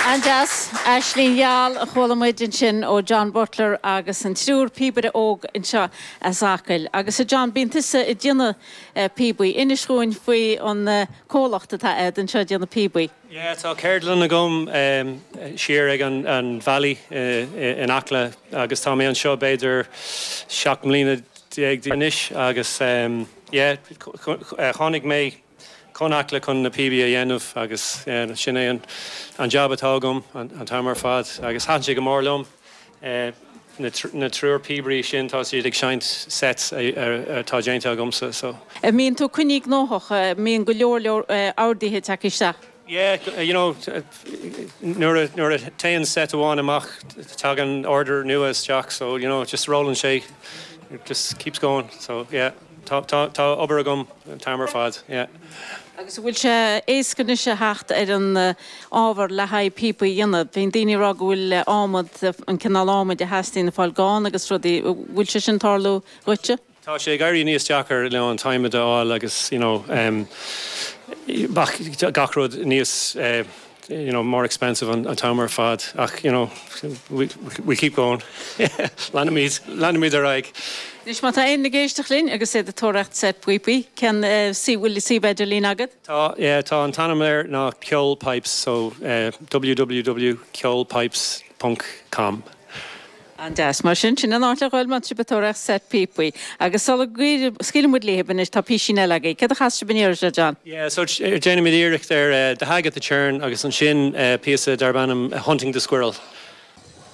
An-deas. Aisling Gheal a chuala muid ansin ó John Butler agus an triúr píobaire óg anseo as Acaill. Agus a John, bíonn tusa ag déanamh píobaí. Inis dhúinn faoi an comhlacht atá a'd anseo ag déanamh píobaí. Yeah, tá ceardlann agam siar ag an Valley in Acla agus tá mé anseo b'fhéidir 17 mbliana anois agus yeah, tháinig mé chun Acla chun na píobaí a dhéanamh agus sin é an jab atá agam an t-am ar fad agus thaitin sé go mór liom. Na triúr píobairí sin tá siad ag seinnt sets atá déanta agamsa so. An mbíonn tú coinnithe gnóthach, an mbíonn go leor leor orduithe ag teacht isteach? Yeah, you know, nuair a nuair a téann set amháin amach tagann order nua isteach so you know just rollann sé, it just keeps going so yeah. Tá, tá, tá obair agam an t-am ar fad, yeah. Agus an bhfuil sé éasca anois a theacht ar an ábhar le haghaidh píopaí a dhéanamh? Bíonn daoine ag rá go bhfuil adhmad, an cineál adhmaid a theastaíonn ag fáil gann agus rudaí. An bhfuil sé sin ag tarlú dhuitse? Tá sé ag éirí níos deacair, you know, an t-adhmad a fháil agus, you know, gach rud níos eh, you know, more expensive an t-am ar fad ach, you know, we, we keep going. Leanfaimid, leanfaimid ar aghaidh. Anois má tá éinne ag éisteacht linn agus iad ag tóraíocht set píopaí, cén suíomh, bhfuil suíomh idirlín agat? Tá, yeah, tá an t-ainm air ná Ceol Pipes, so www ceolpipes ponc com. An-deas. Mar sin, sin an áit le dhul má tá sibh ag tóraíocht set píopaí. Agus sula scaoileann muid libh anois, tá písín eile agaibh. Céard a chas sibh an iarraidh seo, John? Yeah, so déanfaimid iarracht ar The Hag at the Churn agus ansin píosa darb ainm Hunting the Squirrel.